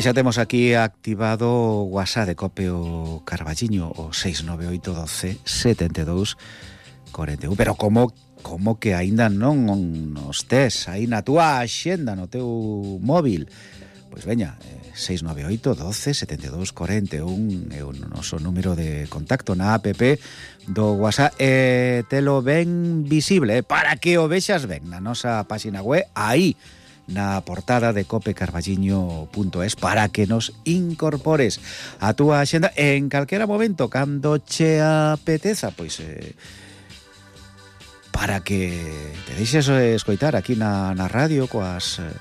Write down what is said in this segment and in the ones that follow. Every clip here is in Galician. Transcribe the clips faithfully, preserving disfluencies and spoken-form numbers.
E xa temos aquí activado o WhatsApp de Cope o Carballiño, o seis nove oito doce setenta e dous cuarenta e un. Pero como como que aínda non nos tes aí na túa axenda, no teu móvil? Pois veña, eh, seis nove oito doce setenta e dous cuarenta e un é o noso número de contacto na app do WhatsApp, e telo ben visible, eh, para que o vexas ben na nosa página web, aí na portada de cope carballiño punto es, para que nos incorpores a túa axenda en calquera momento, cando che apeteza, pois eh, para que te deixes escoitar aquí na, na radio coas, eh,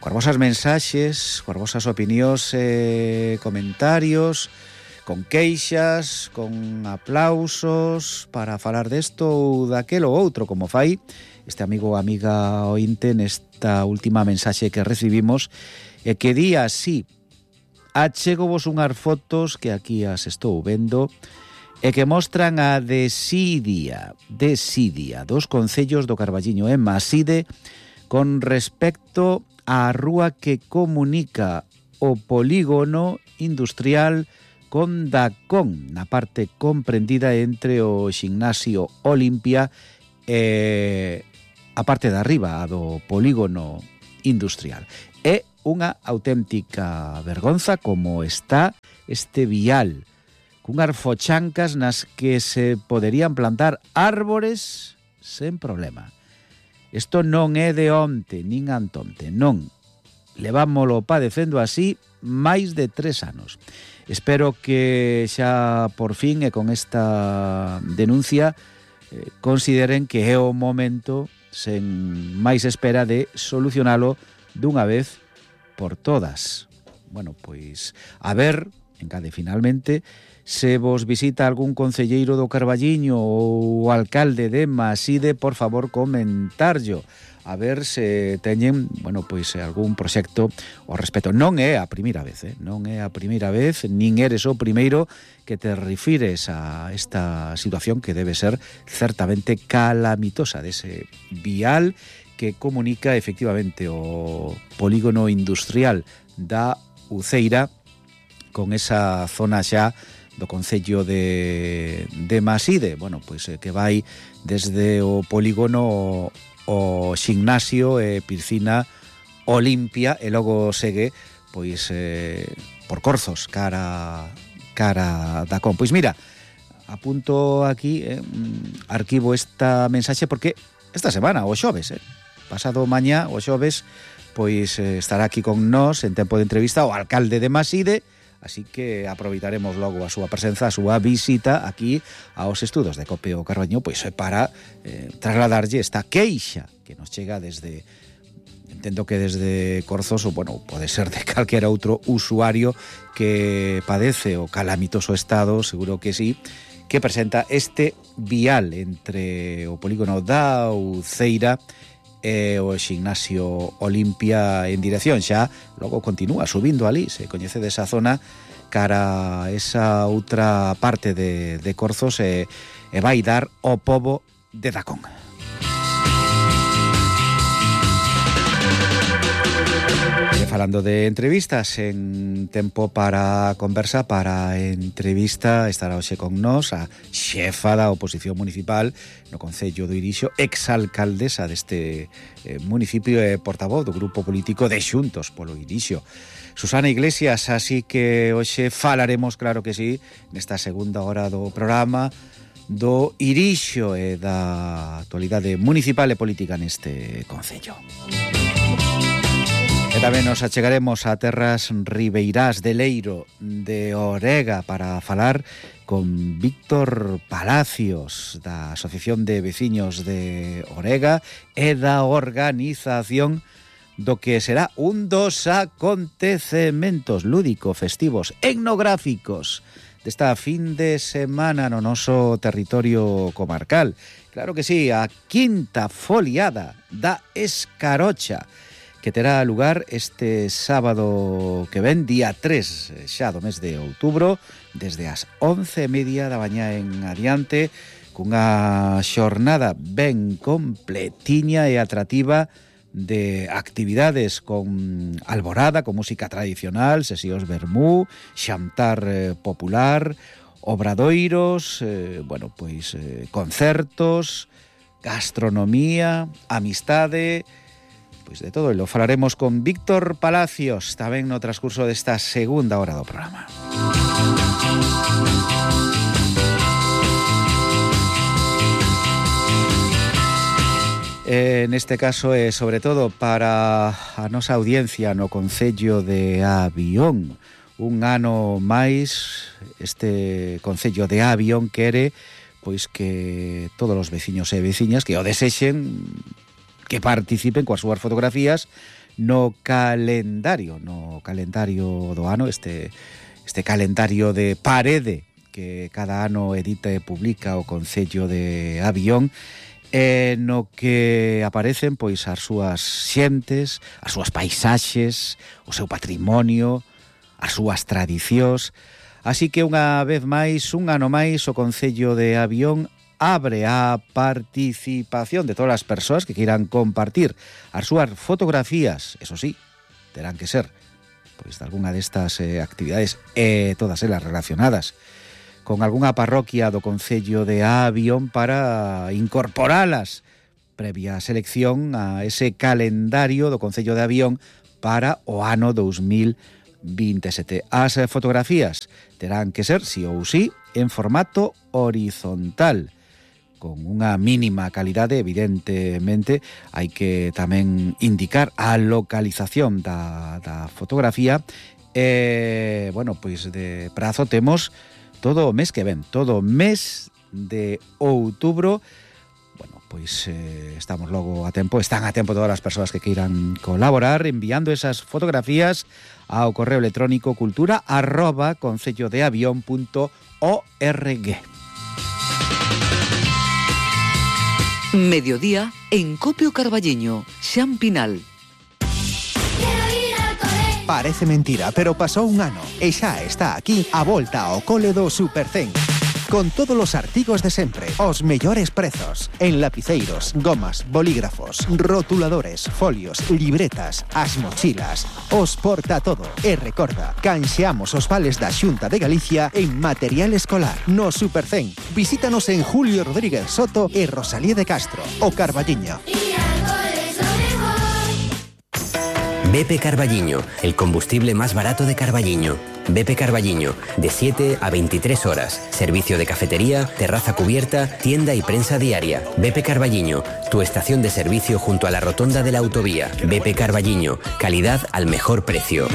coas vosas mensaxes, coas vosas opinións e eh, comentarios, con queixas, con aplausos, para falar desto ou daquelo ou outro, como fai este amigo ou amiga ointe nesta última mensaxe que recibimos, e que di así: achego vos unhas fotos que aquí as estou vendo e que mostran a desidia, desidia dos concellos do Carballiño e Maside con respecto á rúa que comunica o polígono industrial con Dacón, na parte comprendida entre o Ximnasio Olimpia e a parte de arriba, a do polígono industrial. É unha auténtica vergonza como está este vial, cunhas fochancas nas que se poderían plantar árbores sen problema. Isto non é de onte, nin antonte, non. Levámolo padecendo así máis de tres anos. Espero que xa por fin e con esta denuncia eh, consideren que é o momento, sen máis espera, de solucionalo dunha vez por todas. Bueno, pois a ver, encade finalmente, se vos visita algún concelleiro do Carballiño ou o alcalde de Maside, por favor, comentarllo, a ver se teñen, bueno, pois algún proxecto ao respecto. Non é a primeira vez, eh? non é a primeira vez, nin eres o primeiro que te refires a esta situación que debe ser certamente calamitosa dese vial que comunica efectivamente o polígono industrial da Uceira con esa zona xa do concello de, de Maside, bueno, pois que vai desde o polígono o Ximnasio e Piscina Olimpia e logo segue pois eh, por Corzos cara cara da Con. Pois mira, apunto aquí, eh, arquivo esta mensaxe porque esta semana, o xoves, eh, pasado mañá, o xoves, pois eh, estará aquí con nós en tempo de entrevista o alcalde de Maside. Así que aproveitaremos logo a súa presenza, a súa visita aquí aos estudos de Cope o Carballiño, pois para eh, trasladarlle esta queixa que nos chega desde, entendo que desde Corzos, ou bueno, pode ser de calquera outro usuario que padece o calamitoso estado, seguro que sí, que presenta este vial entre o polígono da Uceira e o Ximnasio Olimpia en dirección xa, logo continúa subindo ali, se coñece desa zona cara a esa outra parte de, de Corzos e, e vai dar o pobo de Dacón. E falando de entrevistas, en tempo para conversa, para entrevista, estará hoxe con nós a xefa da oposición municipal no Concello do Irixo, exalcaldesa deste eh, municipio e portavoz do grupo político de Xuntos polo Irixo, Susana Iglesias. Así que hoxe falaremos, claro que sí, nesta segunda hora do programa, do Irixo e da actualidade municipal e política neste concello. E tamén nos achegaremos a terras ribeirás de Leiro de Orega para falar con Víctor Palacios da Asociación de Veciños de Orega e da organización do que será un dos acontecementos lúdico-festivos etnográficos desta fin de semana no noso territorio comarcal. Claro que sí, a quinta foliada da Escarocha, que terá lugar este sábado que ven, día tres xa do mes de outubro, desde as once e media da mañá en adiante, cunha xornada ben completiña e atrativa de actividades con alborada, con música tradicional, sesións vermú, xantar eh, popular, obradoiros, eh, bueno, pois eh, concertos, gastronomía, amistade, pois de todo, e lo falaremos con Víctor Palacios tamén no transcurso desta segunda hora do programa. En este caso é sobre todo para a nosa audiencia no concello de Avión. Un ano máis este concello de Avión quere pois que todos os veciños e veciñas que o desexen que participen coas súas fotografías no calendario, no calendario do ano, este este calendario de parede que cada ano edita e publica o concello de Avión, e no que aparecen pois as súas xentes, as súas paisaxes, o seu patrimonio, as súas tradicións. Así que unha vez máis, un ano máis, o Concello de Avión abre a participación de todas as persoas que queiran compartir as súas fotografías, eso sí, terán que ser pois de algunha destas eh, actividades e eh, todas elas relacionadas con algunha parroquia do Concello de Avión para incorporalas previa selección a ese calendario do Concello de Avión para o ano dos mil veintisiete. As fotografías terán que ser, sí ou sí, en formato horizontal, con unha mínima calidade, evidentemente. Hai que tamén indicar a localización da, da fotografía. E, bueno, pois de prazo temos todo o mes que ven, todo o mes de outubro. Bueno, pois eh, estamos logo a tempo, están a tempo todas as persoas que queiran colaborar enviando esas fotografías ao correo electrónico cultura arroba concellodeavión punto org. Mediodía en Copio Carballiño, Xan Pinal. Parece mentira, pero pasou un ano e xa está aquí a volta ao cole do Supercén. Con todos os artigos de sempre, os mellores prezos, en lapiceiros, gomas, bolígrafos, rotuladores, folios, libretas, as mochilas, os porta todo. E recorda, canxeamos os vales da Xunta de Galicia en material escolar. No Supercén, visítanos en Julio Rodríguez Soto e Rosalía de Castro, o Carballiño. B P Carballiño, el combustible más barato de Carballiño. B P Carballiño, de siete a veintitrés horas. Servicio de cafetería, terraza cubierta, tienda y prensa diaria. B P Carballiño, tu estación de servicio junto a la rotonda de la autovía. B P Carballiño, calidad al mejor precio.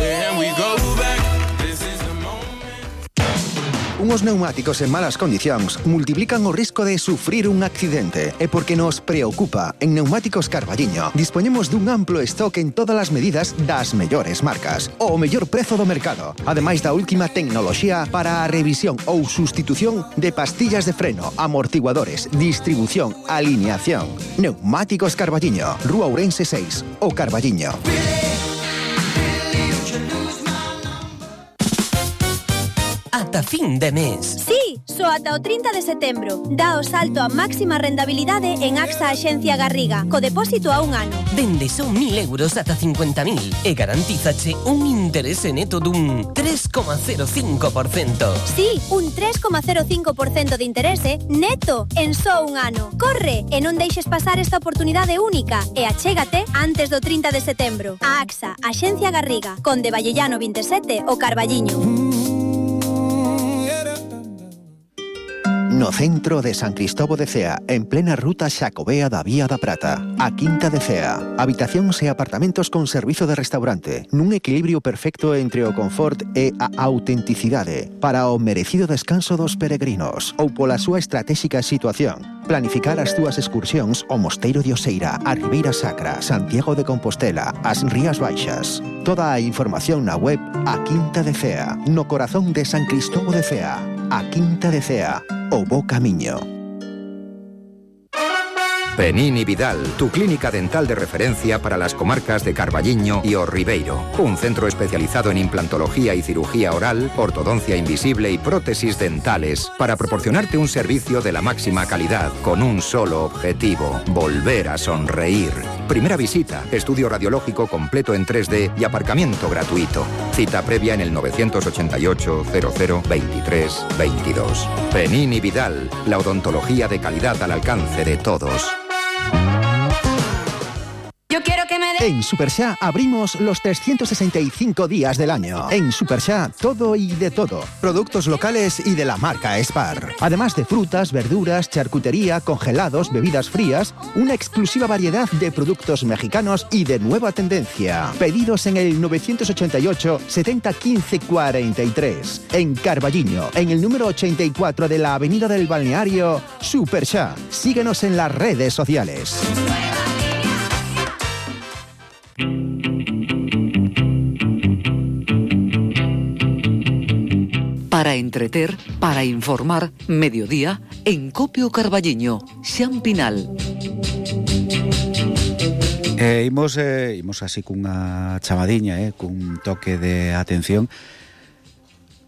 Unos neumáticos en malas condicións multiplican o risco de sufrir un accidente. E porque nos preocupa, en Neumáticos Carballiño dispoñemos dun amplo stock en todas as medidas das mellores marcas, o mellor prezo do mercado, ademais da última tecnoloxía para a revisión ou sustitución de pastillas de freno, amortiguadores, distribución, alineación. Neumáticos Carballiño, Rúa Ourense seis, o Carballiño. Ata fin de mes. Sí, só ata o trinta de setembro. Dá o salto a máxima rentabilidade en AXA Axencia Garriga, co depósito a un ano. Dende son mil euros ata cincuenta mil e garantízache un interese neto dun tres coma cero cinco por cento. Sí, un tres coma cero cinco por cento de interese neto en só un ano. Corre e non deixes pasar esta oportunidade única e achégate antes do trinta de setembro. A AXA Axencia Garriga, Conde Vallellano vinte e sete, o Carballiño. No centro de San Cristóbal de Cea, en plena ruta Xacobea da Vía da Prata, a Quinta de Cea. Habitacións e apartamentos con servizo de restaurante, nun equilibrio perfecto entre o confort e a autenticidade, para o merecido descanso dos peregrinos, ou pola súa estratégica situación. Planificar as túas excursións ao Mosteiro de Oseira, a Ribeira Sacra, Santiago de Compostela, as Rías Baixas. Toda a información na web A Quinta de Cea, no corazón de San Cristóbal de Cea. A Quinta de Cea, o bo camiño. Penini Vidal, tu clínica dental de referencia para las comarcas de Carballiño y O Ribeiro. Un centro especializado en implantología y cirugía oral, ortodoncia invisible y prótesis dentales para proporcionarte un servicio de la máxima calidad con un solo objetivo: volver a sonreír. Primera visita, estudio radiológico completo en tres D y aparcamiento gratuito. Cita previa en el nueve ocho ocho, cero cero, veintitrés, veintidós. Penin y Vidal, la odontología de calidad al alcance de todos. Yo quiero que me de... En Supersha abrimos los trescientos sesenta y cinco días del año. En Supersha, todo y de todo. Productos locales y de la marca Spar. Además de frutas, verduras, charcutería, congelados, bebidas frías, una exclusiva variedad de productos mexicanos y de nueva tendencia. Pedidos en el nueve ocho ocho, setenta, quince, cuarenta y tres. En Carballiño, en el número ochenta y cuatro de la Avenida del Balneario, Supersha. Síguenos en las redes sociales. Para entreter, para informar, mediodía, en Copio Carballiño, Xampinal. Eh, imos, eh, imos así cunha chamadiña, eh, cun toque de atención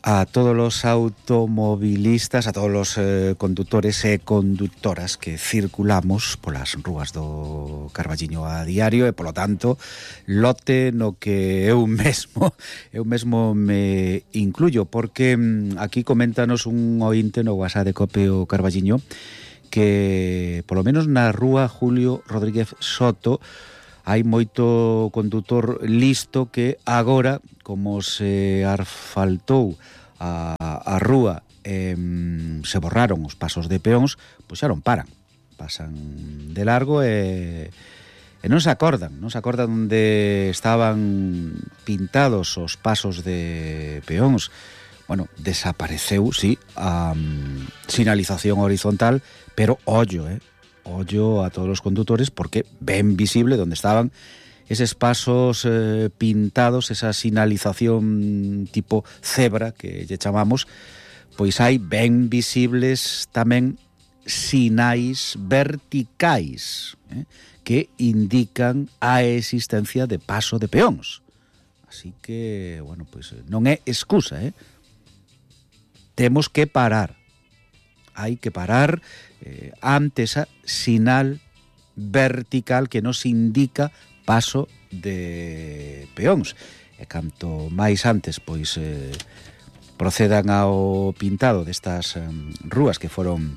a todos los automovilistas, a todos los eh, conductores e conductoras que circulamos polas rúas do Carballiño a diario e, polo tanto, lote no que eu mesmo eu mesmo me incluyo, porque mm, aquí coméntanos un ointe no WhatsApp de Copio Carballiño que, polo menos na rúa Julio Rodríguez Soto, hai moito condutor listo que agora, como se asfaltou a, a rúa, eh, se borraron os pasos de peóns, pois xa non paran, pasan de largo e, e non se acordan, non se acordan onde estaban pintados os pasos de peóns. Bueno, desapareceu, sí, a um, sinalización horizontal, pero ollo, eh, ollo a todos os condutores, porque ven visible donde estaban eses pasos eh, pintados, esa sinalización tipo cebra que lle chamamos, pois hai ben visibles tamén sinais verticais, eh, que indican a existencia de paso de peóns. Así que, bueno, pois non é excusa, eh? Temos que parar. Hai que parar eh, ante esa sinal vertical que nos indica paso de peóns. E canto máis antes pois eh, procedan ao pintado destas eh, rúas que foron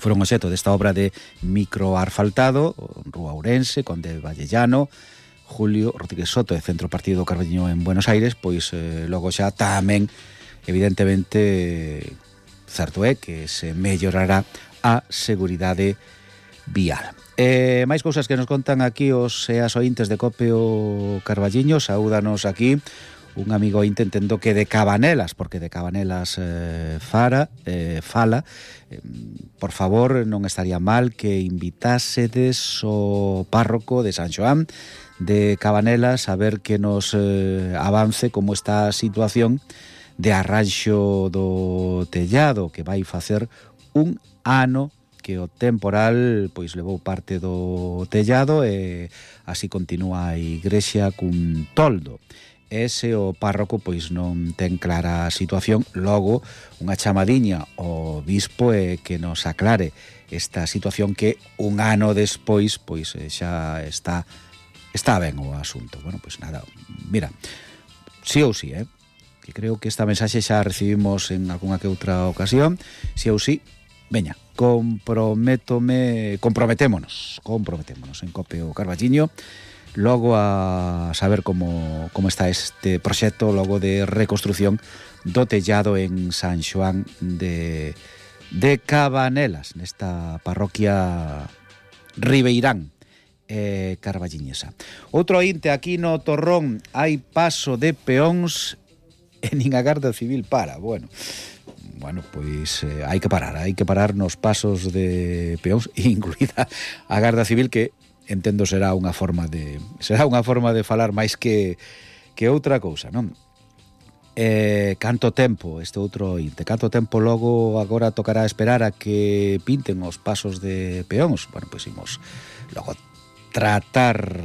foron obxecto desta obra de microasfaltado, Rúa Ourense, Conde Vallellano, Julio Rodríguez Soto e Centro Partido do Carballiño en Buenos Aires, pois eh, logo xa tamén evidentemente certo é que se mellorará a seguridade vial. Eh, máis cousas que nos contan aquí os e as ointes de Copio Carballiño. Saúdanos aquí un amigo ointe, entendo que de Cabanelas, porque de Cabanelas eh, fara, eh, fala. Eh, por favor, non estaría mal que invitásedes o párroco de San Xoán de Cabanelas a ver que nos eh, avance como está a situación de arranxo do tellado, que vai facer un ano que o temporal pois levou parte do tellado e así continúa a igrexa cun toldo. Ese o párroco pois non ten clara a situación, logo unha chamadiña ao bispo e que nos aclare esta situación que un ano despois pois xa está está ben o asunto. Bueno, pois nada, mira, sí ou sí, eh? que creo que esta mensaxe xa recibimos en algunha que outra ocasión, si ou si, veña, comprométome, comprometémonos, comprometémonos en Copio Carballiño, logo a saber como, como está este proxecto, logo de reconstrucción do tellado en San Xoán de, de Cabanelas, nesta parroquia ribeirán eh, carballiñesa. Outro ointe, aquí no Torrón hai paso de peóns e nin a Garda Civil para. Bueno, bueno, pois eh, hai que parar, hai que parar nos pasos de peóns, incluída a Garda Civil, que entendo será unha forma de será unha forma de falar máis que que outra cousa, non? Eh, canto tempo, este outro inte, canto tempo logo agora tocará esperar a que pinten os pasos de peóns. Bueno, pois imos logo tratar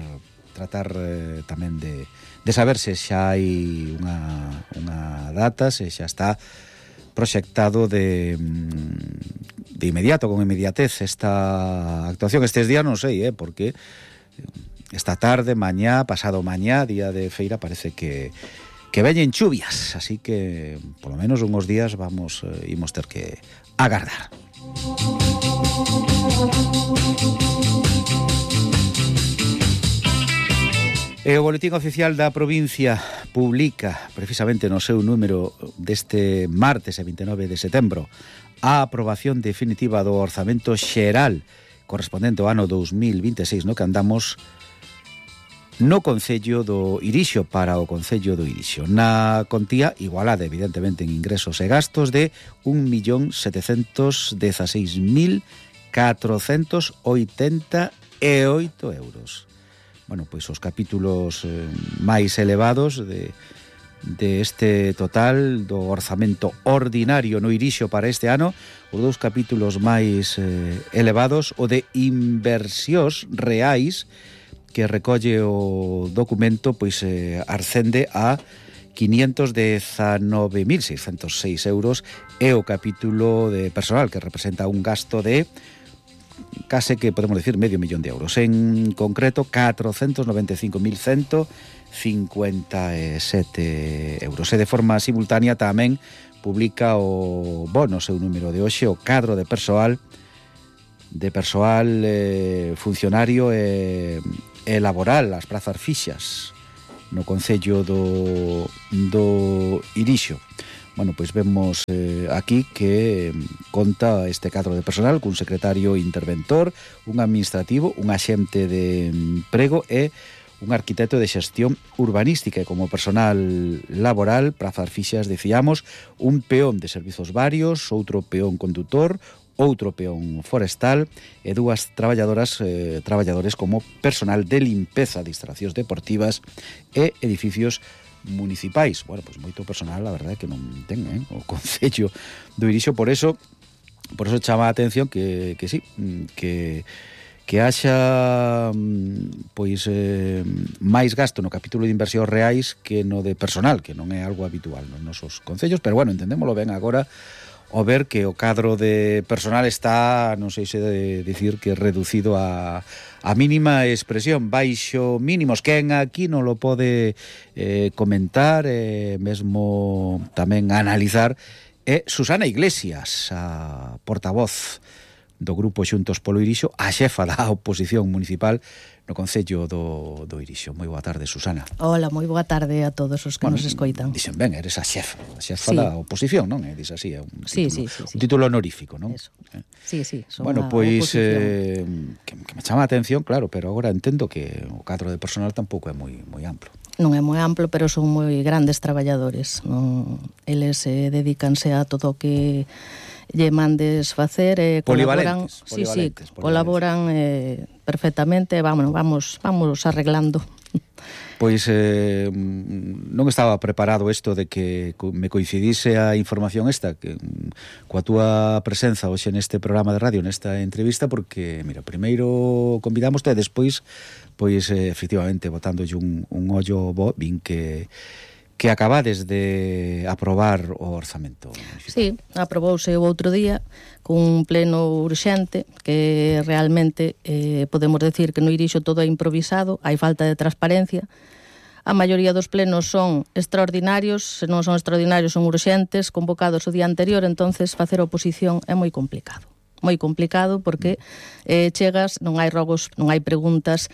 tratar eh, tamén de de saber se xa hai unha, unha data, se xa está proxectado de, de inmediato, con inmediatez, esta actuación estes días, non sei, eh, porque esta tarde, mañá, pasado mañá, día de feira, parece que que veñen chuvias, así que por lo menos unhos días vamos eh, imos ter que agardar. E o Boletín Oficial da provincia publica precisamente no seu número deste martes e vinte e nove de setembro a aprobación definitiva do orzamento xeral correspondente ao ano dous mil vinte e seis, no que andamos no Concello do Irixo para o Concello do Irixo, na contía igualada evidentemente en ingresos e gastos de un millón setecentos dezaseis mil catrocentos oitenta e oito euros. Bueno, pois os capítulos eh, máis elevados de, de este total do orzamento ordinario no Irixo para este ano, os dous capítulos máis eh, elevados, o de inversións reais, que recolle o documento, pois eh, ascende a quinientos dezanove mil seiscentos seis euros, e o capítulo de personal, que representa un gasto de case que podemos decir medio millón de euros, en concreto catrocentos noventa e cinco mil ciento cincuenta e sete euros. E de forma simultánea tamén publica o bono, seu número de hoxe, o cadro de persoal de persoal eh, funcionario e, e laboral, as prazas fixas no Concello do, do Irixo. Bueno, pois vemos eh, aquí que conta este cadro de personal cun secretario interventor, un administrativo, un axente de emprego e un arquitecto de xestión urbanística, e como personal laboral, prazas fixas, decíamos, un peón de servizos varios, outro peón condutor, outro peón forestal e dúas traballadoras eh, traballadores como personal de limpeza de instalacións deportivas e edificios municipais. Bueno, pois moito personal, a verdade, que non ten, eh, o Concello do Irixo, por eso por eso chama a atención que, que sí, que que haxa pois eh, máis gasto no capítulo de inversións reais que no de personal, que non é algo habitual nos nosos concellos, pero bueno, entendémolo ben agora ao ver que o cadro de personal está, non sei se de dicir que reducido a, a mínima expresión, baixo mínimos. Quen aquí non lo pode eh, comentar, eh, mesmo tamén analizar, é Susana Iglesias, a portavoz do Grupo Xuntos polo Irixo, a xefa da oposición municipal no Concello do, do Irixo. Moi boa tarde, Susana. Hola, moi boa tarde a todos os que bueno, nos escoitan. Dixen ben, eres a xefa, a xefa sí. da oposición, non? É dis así, é un título, sí, sí, sí, sí. un título honorífico, non? Eso. Sí, sí, son bueno, pois eh, que, que me chama a atención, claro, pero agora entendo que o cadro de personal tampouco é moi moi amplo. Non é moi amplo, pero son moi grandes traballadores. Non, eles eh, dedícanse a todo o que lle mandes facer e eh, colaboran, polivalentes, sí, polivalentes, sí, colaboran eh, perfectamente, vamos, vamos, vamos arreglando. Pois eh, non estaba preparado isto de que me coincidise a información esta que, coa túa presenza hoxe neste programa de radio, nesta entrevista, porque, mira, primeiro convidamoste e despois, pois, eh, efectivamente, botándolle un, un ollo bo, vin que que acabades de aprobar o orzamento municipal. Sí, aprobouse o outro día cun pleno urxente, que realmente eh, podemos decir que no Irixo todo é improvisado, hai falta de transparencia. A maioría dos plenos son extraordinarios, se non son extraordinarios son urxentes, convocados o día anterior, entonces facer oposición é moi complicado. Moi complicado porque eh, chegas, non hai rogos, non hai preguntas.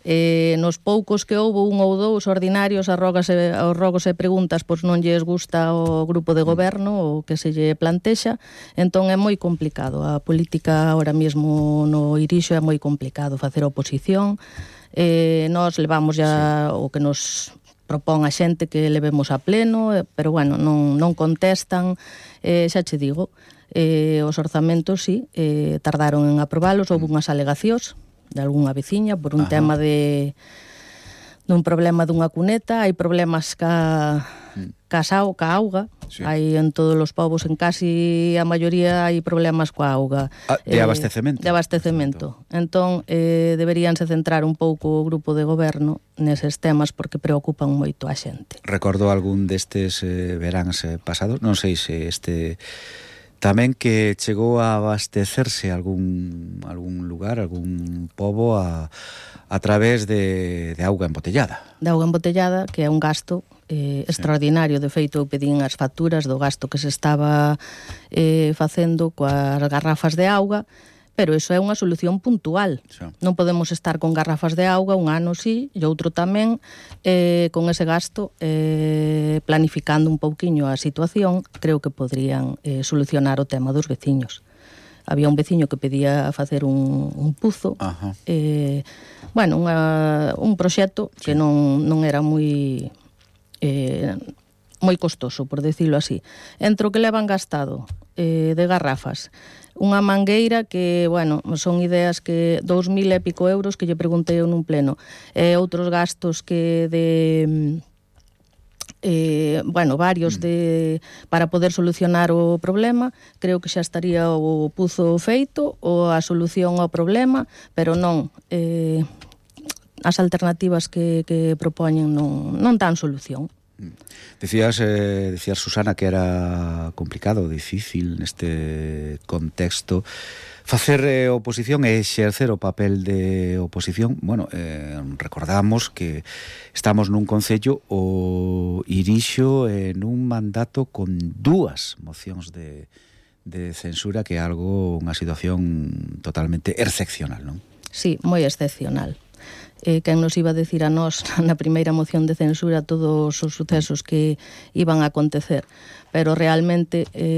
Eh, nos poucos que houbo un ou dous ordinarios, as rogas e, os rogos e preguntas pois non lles gusta o grupo de goberno o que se lle plantexa, entón é moi complicado. A política ahora mesmo no Irixo é moi complicado facer oposición. Eh, nós levamos ya sí. o que nos propón a xente que levemos a pleno, pero bueno, non, non contestan. Eh, xa che digo, eh, os orzamentos sí, eh, tardaron en aprobalos, houve unhas alegacións de algunha veciña por un Ajá. tema de dun problema dunha cuneta, hai problemas ca casao, ca auga, sí. hai en todos os povos, en casi a maioría hai problemas coa auga. Ah, de abastecemento. Eh, de abastecemento. Entón, eh, deberíanse centrar un pouco o grupo de goberno neses temas porque preocupan moito a xente. Recordo algún destes eh, veráns eh, pasados, non sei se este Tamén que chegou a abastecerse algún algún lugar, algún pobo a, a través de, de auga embotellada. De auga embotellada, que é un gasto eh, extraordinario. De feito, eu pedín as facturas do gasto que se estaba eh, facendo coas garrafas de auga, pero iso é unha solución puntual. Sí. Non podemos estar con garrafas de auga un ano sí e outro tamén, eh, con ese gasto, eh, planificando un pouquiño a situación, creo que podrían eh, solucionar o tema dos veciños. Había un veciño que pedía facer un, un puzo, eh, bueno, unha, un proxecto sí. que non, non era moi... Eh, moi costoso, por decirlo así. Entre o que levan gastado eh, de garrafas, unha mangueira que, bueno, son ideas que dous mil e pico euros que lle preguntei eu nun pleno, e outros gastos que de... Eh, bueno, varios de para poder solucionar o problema, creo que xa estaría o puzo feito ou a solución ao problema, pero non, eh, as alternativas que, que propoñen non, non dan solución. Decías, eh, decías, Susana, que era complicado, difícil neste contexto facer eh, oposición e exercer o papel de oposición. Bueno, eh, recordamos que estamos nun concello o irixo en un mandato con dúas mocións de, de censura, que é algo, unha situación totalmente excepcional, non? Sí, moi excepcional. Eh, quen nos iba a decir a nós na primeira moción de censura todos os sucesos que iban a acontecer, pero realmente eh,